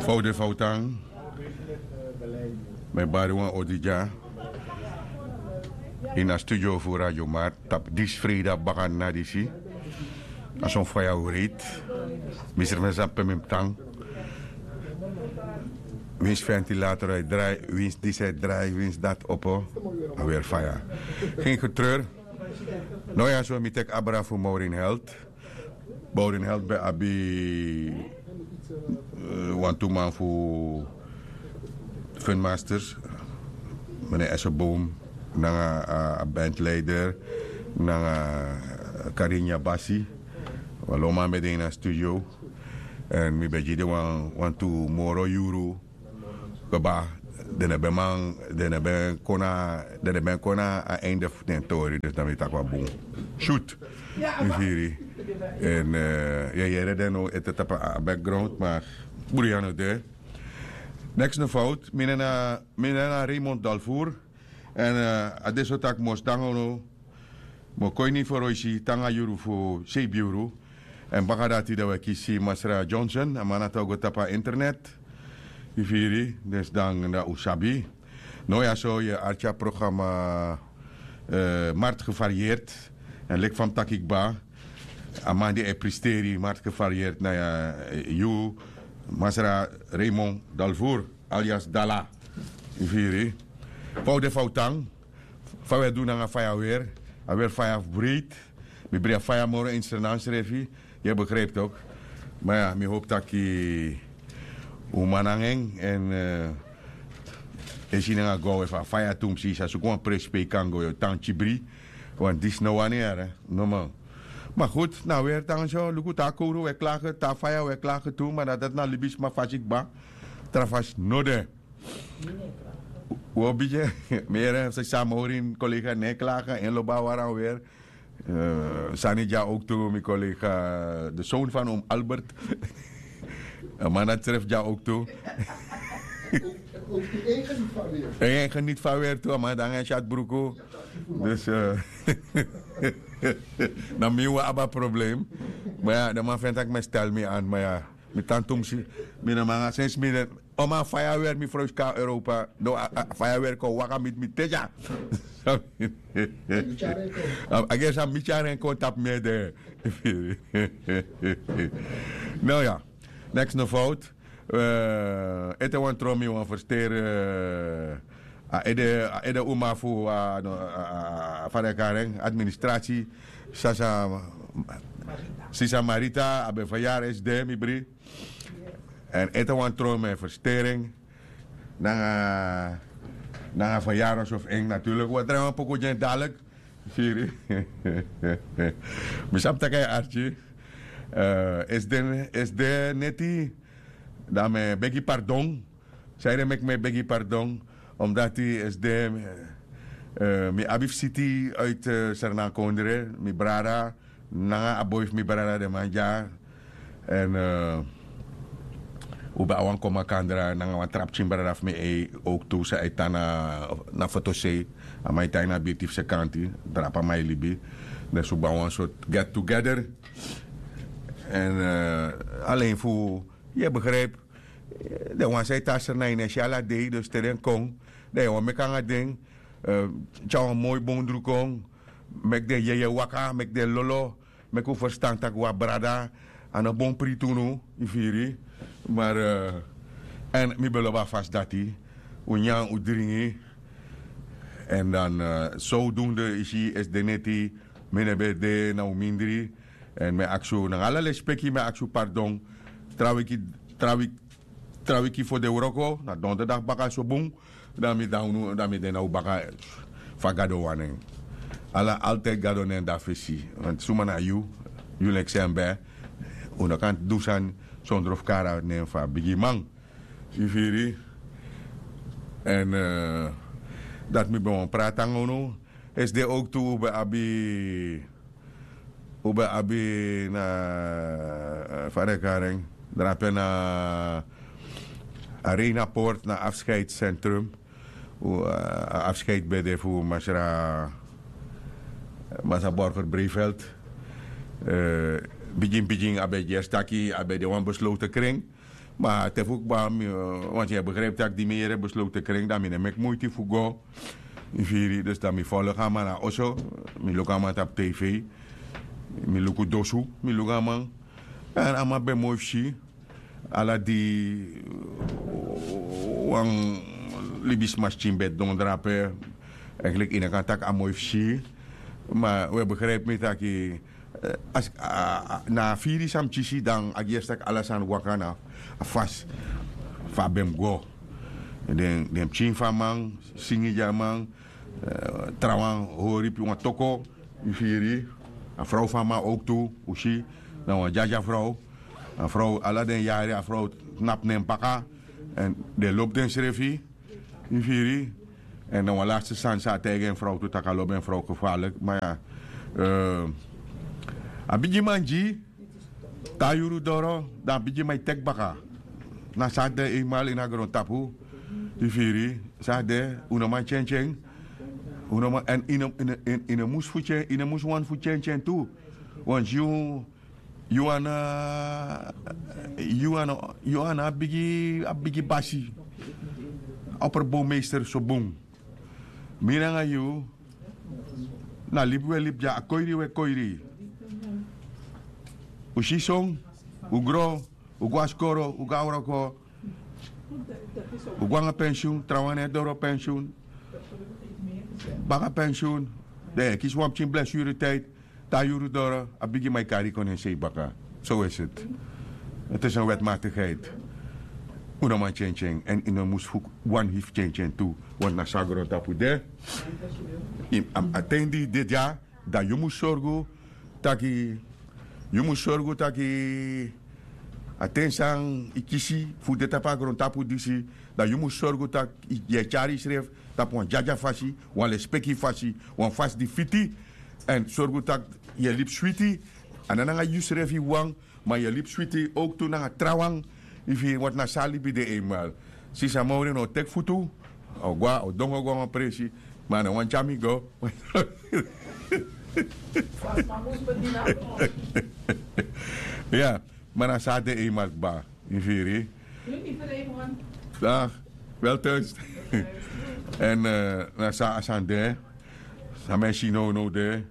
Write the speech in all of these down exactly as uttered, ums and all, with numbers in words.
Fout de fout an. Mi e bari wan odi dya ini a studio fu Radio Markt tapu disi freida bakadina disi. A son faya wreiti. Mi srefi no sabi pe mi mus tan. Winsi ventilator e drai, winsi disi e drai, winsi dati opo. A weri faya. Gen getreuri. No, ya so mi teki abra fu Maureen Health. Maureen Health ben abi, eh, wantu man fu Funmasters, meneer Esseboom, nanga a, a bandleider, nanga Karinya Basi. Wan lo man ben de ini a studio. Èn mi ben gi den wan, wantu moro yuru kba. Den no ben man, den no ben kon na, den no ben kon na a einde fu den tori, dus dan mi taki wan bun. Shoot. Mi firi. Èn, eh, yu e yere den now ete tapu a background, ma bruya no de. Neks no fout, mi nen na, mi nen na Raymond Dalvoer. Èn, eh, a de so taki mi o si nanga unu, mi o kon ini foroisi te nanga yuru fu seibi yuru. Èn baka dati dan wi e kisi Masra Johnson, a man dati o go tapu a internet. Yu firi, dus dan dan un sabi. Now ya so yu e arki a programma, eh, Markt Gevarieerd. Èn leki fa mi taki kba, a man di e presteri Markt Gevarieerd na, eh, yu, Masra Raymond Dalvoer, alias Dala. Yu firi. Fa un de, fa un tan. Fa un e du nanga faya weri. A weri faya fu breiti. Mi bri a faya moro ini Sranan srefi. Yu e begrijpi tok. Ma ya, mi hopi taki un man nanga en, èn, eh, e si nanga go a we fu a faya tumsi, sa suku wan presi pe yu kan go, yu o tan kibri. Want disi no wani yere, no man. Ma goed, na weri tan so, luku te a kowru e klage, te a faya e klage tu, ma na dati na libisma fasi kba. Tra fasi no de. Wi o bigin. Mi yere sisa Maureen, collega, no e klage, en lobi a wari a weri. Eh, sani dya ook tu, mi collega, de zoon van oom Albert. A man dati srefi dya ook tu. En geniet van weri tu, a man dati nanga en syatbruku. Dus, eh, na mi wi abi a probleem. Ma ya, den man feni taki mi e stel mi an, ma ya. Mi tan tumsi, mi no man nanga sensi mi den. O man, faya weri, mi frow skan Europa. No, a, a, faya weri kon waka miti mi te dya. A, a gers a mi tyari en kon tapu mi ede. No ya, neks no fout. Eh, ete wan tron mi wan fersteri, eh, a ede, a ede uma fu, a, no, a, a, a, fa den e kari en, administrasi, sasa, sisa Marita, a ben fayari S D, mi bri. Èn ete wan tron mi e fersteri en. Nanga, nanga fayari so fu en, natuurlijk. Wi o drai wan poku gi en dadilik. Firi. Mi sabi taki a e arki. Eh, S D, S D neti. Dan mi e begi pardon. Sanede meki mi e begi pardon? Omdati S D, eh, mi abi visiti uit, eh, Sernakondre, mi brada, nanga a boi fu mi brada, den man dya. Èn, eh, un ben abi wan kon makandra nanga wan tra pikin brada fu mi, eh, ook tu, san e tan na, na fotosei. A man e tan ini a birti fu Sekanti, drape a man e libi. Dus un ben abi wan sort get together. Èn, eh, alen fu, yu e begrijpi, den wan san e tan na ini, e si ala dei, dus te den kon, dan yu wani meki nanga den, eh, tyari wan moi bun dru kon, meki den yeye waka, meki den lolo, meki un ferstan taki wi a brada, a no bun priti unu, yu firi. Ma, eh, èn mi ben lobi a fasi dati, un nyan, un dringi, èn dan, eh, zodoende yu si S D neti, mi no ben de na un mindri, èn mi e aksi un nanga ala lespeki, mi e aksi un pardon, tra wiki, tra wiki tra wiki fu den wroko, na donderdag baka so bun, dan mi dan unu, dan mi de na un baka, fa Gado wani en. Ala, altijd Gado nen de na fesi. Want suma na yu, yu leki san ben, un no kan du sani sondro fu kari a nen fu a bigiman. Yu firi? Èn, eh, dati mi ben wani prati nanga unu. S D ook tu, un ben abi Un ben abi na, eh, fa den e kari en, drape na Arena Poort, na afscheidscentrum. Un, eh, a afscheid ben de fu masra, masra Borger Breveld. Eh, Bigin bigin a ben gersi taki a ben de wan beslowte kring. Ma te fu kba mi, wanti yu e begripi tak' di mi yere beslowte kring dan mi no e meki muiti fu go. Yu firi dus dan mi folok a man na oso. Mi luku a man tapu tv. Mi luku dosu, mi luku a man. Èn a man ben moi fu si. Ala di wan libisma skin ben dondra ape. Enkliki yu no kan taki a moi fu si. Ma un e begripi mi taki na a firi san mi kisi dan a gersi tak' ala sani waka na a fasi. Fa a ben mus go den pikin fu a man singi gi a man. Trawan hori pi wan toko. Yu firi a frow fu a man owktu un si. Na wan dyadya frow. A frow ala den yari a frow tnapu nen baka. Èn den lobi densrefi. Yu firi. Èn na wan laste sani san a taigi en frow tu tak' a lobi en frow gefarlik ma ya. A bigi man gi tan yuru doro dan a bigi man e teki baka. Na san a de einmal ini a grontapu. Yu firi san a de. Un no man tyentyen. Un no man èn yu no mus fu tyen yu no mus wani fu tyentyen tu. Want yu yu ana yu ana yu ana a bigi a bigi basi. Operbowmeister so bun. Mi nanga yu na libi un e libi dya a koiri un e koiri. Un si son un gro un go na skoro un go na wroko. Un go nanga pensyun trawan na e doro pensyun. Baka pensyun. Dan yu e kisi wan pikin blessuretiyd. Tan yuru doro a bigi man e kari yu kon na en sei baka. So wesi eti. Eti san wetmatikheid. Un no man tyentyen èn yu no mus fu wan hifi tyentyen tu. Want na so a grontapu de. A ten di yu de dya dan yu mus sorgu taki yu mus sorgu taki a ten san yu kisi fu de tapu a grontapu disi. Dan yu mus sorgu taki yu e tyari yusrefi tapu wan dyadya fasi, wan lespeki fasi, wan fasi di fiti. Èn sorgu tak' yu e libi switi. A no nanga yusrefi wawan ma yu e libi switi owktu nanga trawan. Yu firi wantu na so a libi de einmal. Sisi a mowri no o teki futu. A o go a o dongo go na wan presi. Ma a no wani tyari mi go. Ya. Ma na so a de einmal kba. Yu firi. Wel thuis. Èn na so a sani de. San mi e si nownow de.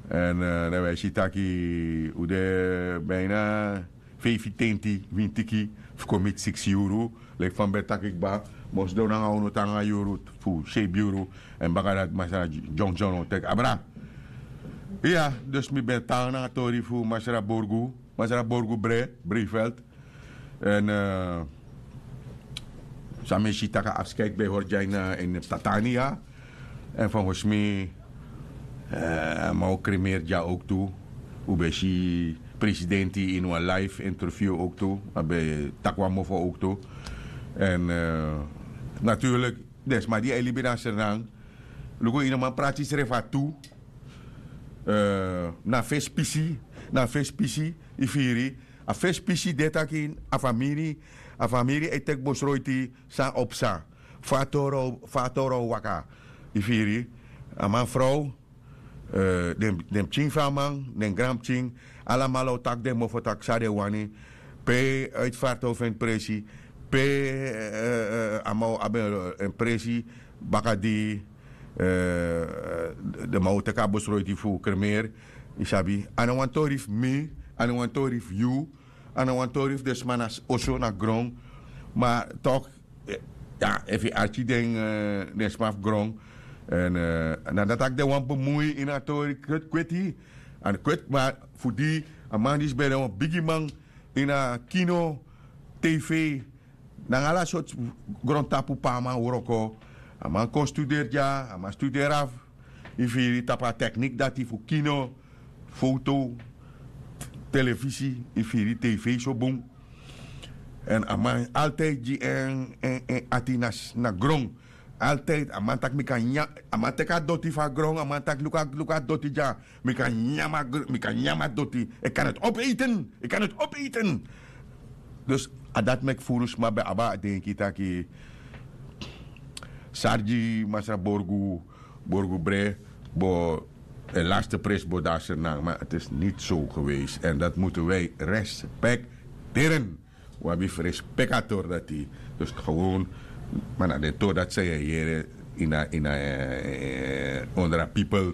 Èn dan wi e si taki un de bina feifi tenti wintiki fu kon miti siksi yuru. Leki fa mi ben taki kba. Mi o sidon nanga unu te nanga yuru fu seibi yuru. Èn baka dati masra dyongyong o teki abra. Iya. Dus mi ben tan nanga tori fu masra borgu, masra borgu bre breivelt. Èn san mi e si tak' a afskeid ben e hori dya ini tatania. Èn fongos mi a man o kremeri dya owktu. Un ben si presidenti ini wan life interview owktu. A ben taki wan mofo owktu. Èn naturlik den sma di e libi na sernang. Luku ini a man prati srefi a tu. Na fesi pisi, na fesi pisi. Yu firi. A fesi pisi de taki a famiri, a famiri e teki bosroiti san o psa. Fa a toro o waka. Yu firi. A man frow, den pikin fu a man, den granpikin, alamala o taki den mofo tak' san den wani. Pe uitfarto fu en presi, pe a man o abi en presi. Baka di den man o teki a bosroiti fu kremeer. Yu sabi, a no wan tori fu mi, a no wan tori fu yu, a no wan tori fu den sma na oso na gron. Ma tok', efu yu arki den sma fu gron, na dati tak' den wani bemui ini a tori kweti. Kweti ma fu di a man disi ben de wan bigiman ini a kino, tv, nanga ala sortu grontapu pe a man wroko. A man kon studeri dya, a man studeri afu. Yu firi, tapu a teknik dati fu kino, foto, telefisi, yu firi, tv so bun. Èn a man altid gi en ati na gron. Altid a man taki mi kan nyan, a man teki a doti fu a gron, a man taki luku a doti dya. Mi kan nyan mi kan nyan mi a doti. Ik kan het opeten. Ik kan het opeten. Dus a dati meki furu sma ben abi a denki taki, sargi masra borgu, borgu bre, bo de laatste prijs bodasernan, maar het is niet zo geweest. En dat moeten wij respecteren. Wabi respectator dati. Dus gewoon, maar na de to dat zij hier in a, in a, eh, onder a people.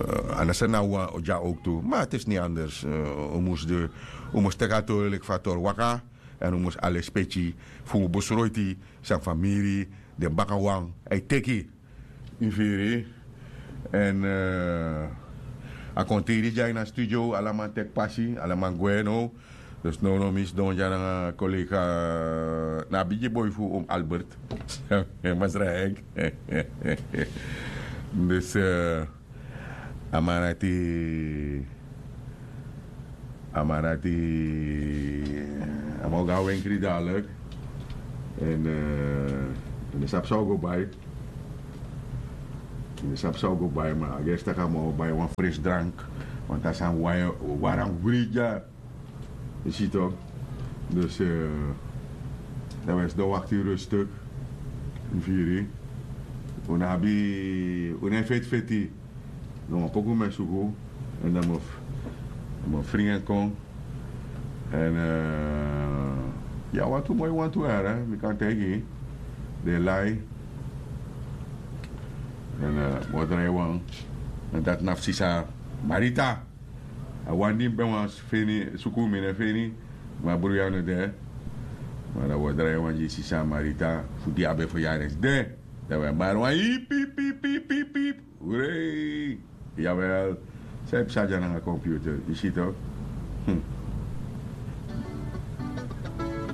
Uh, anders na wa oja ook toe. Maar het is niet anders. Uh, we moesten, we moesten steken natuurlijk van tor waka. En we moesten alles petje voor besroiti, zijn familie, de bakawan, hij teki. Infiri. En uh, a kontiri dya in a studio, alaman tek pasi, alaman gwe no. Dus no no mis don dya na collega, na bigi boy fu um Albert. Masra Henk. Dus uh, a man dati, a man dati, a man o go na wenkri dalik. En uh, mi sabi san o go bai. Mi sabi san o go bai, maar a gersi tak' a man o bai wan frisdrank. Want a sani wari, wari a wri dya. Yu si tok. Dus uh, dan wens de wakti rustig. Infiri. Un abi, un e feti feti. Dan wan poku mi e suku. En dan mi o fringi en kon. En uh, ya, wantu moi wantu era, mi kan taigi. Den lai. En uh, mi o drai wan. En dati na fu sisa Marita. A wan di mi ben wani feni, suku mi no e feni. Ma bruya no de. Ma dan mi o drai wan gi sisa Marita fu di a ben fu yari de. Dan mi e bari wan hip hip hip hip hip hip. Hurei. Jawel. San e psa dya nanga computer, yu si tok.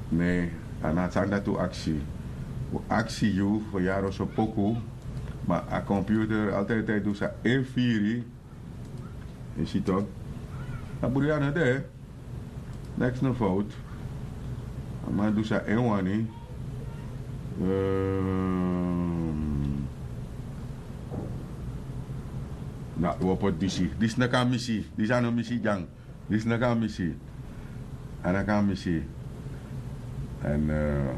Ne, a no sani dati un aksi. Un aksi yu fu yari oso poku. Ma a computer altijd e du san en firi. Yu si tok. A bruya no de. Neks no fout. A man du san en wani. Na wi o poti disi. Disi no kan misi. Disi a no misi dyan. Disi no kan misi. A no kan misi. En uh,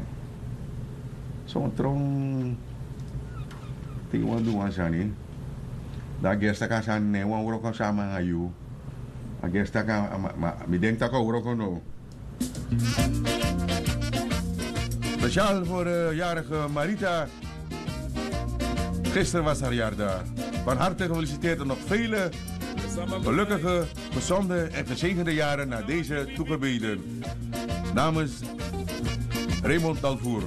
son tron. Te yu wani du wan sani, dan a gersi tak' a sani no e wani wroko sama nanga yu. A gersi tak' a, ma, ma, mi denki tak' a wroko no. Speciaal voor de jarige Marita. Gisteren was haar jaardag. Van harte gefeliciteerd en nog vele gelukkige, gezonde en gezegende jaren naar deze toegebeden. Namens Raymond Dalvoer.